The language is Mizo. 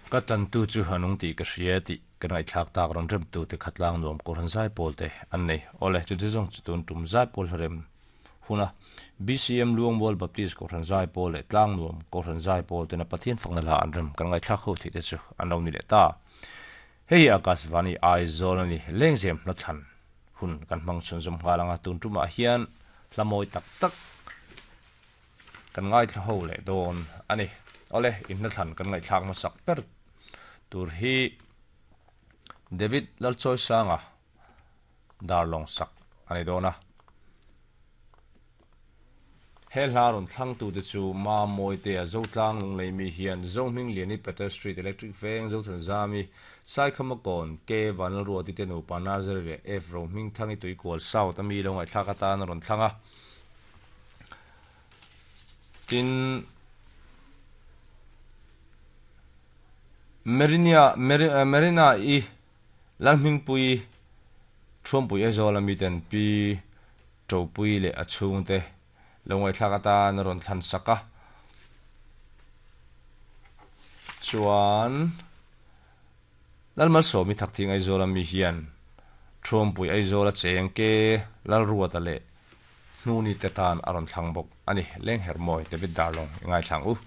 Ka tlantu chu a nung tih ka hria tih ka ngaihthlak tak rawn remtu te kha tlang nuam Kohhran Zaipawl te an nei. Awle, chu chu zawng chu tun tum Zaipawl hlarem huna BCM Luangmual Baptist Kohhran Zaipawl leh Tlang nuam Kohhran Zaipawl tena Pathian fakna hla an rem kan ngaihthlak ho theih te chu an lo ni leh ta. Hei hi Akashvani Aizawl a ni, Lengzem hnathlan hun kan hmang chhunzawm nghal anga tun tumah hian hla mawi tak tak kan ngaithla ho leh dawn a ni. Awle, in hnathlan kan ngaihthlak hmasak ber tur hi David Lalchawisanga Darlawng sak a ni dawn a. He hla rawn thlangtute chu Ma Mawitea, Zotlang Lunglei mi hian Zohmingliani, Peter Street, Electric Veng, Zothanzami, Saikhamakawn, K Vanlalruati te nupa Nazari leh F Rohmingthangi Tuikual South a mi lo ngaihthlak atan a rawn thlang a. Tin, Merinia, Merina-i Lalhmingpui, Thuampui Aizawl a miten Pi Topui leh a chhungte lo ngaihthlak atan a rawn thlan sak a. Chuan Lalmalsawmi Thakthing Aizawl a mi hian Thuampui Aizawl a cheng ke Lalruata leh Hnuni te tan a rawn thlang bawk a ni. Lenghermawi David Darlong i ngaithlang u.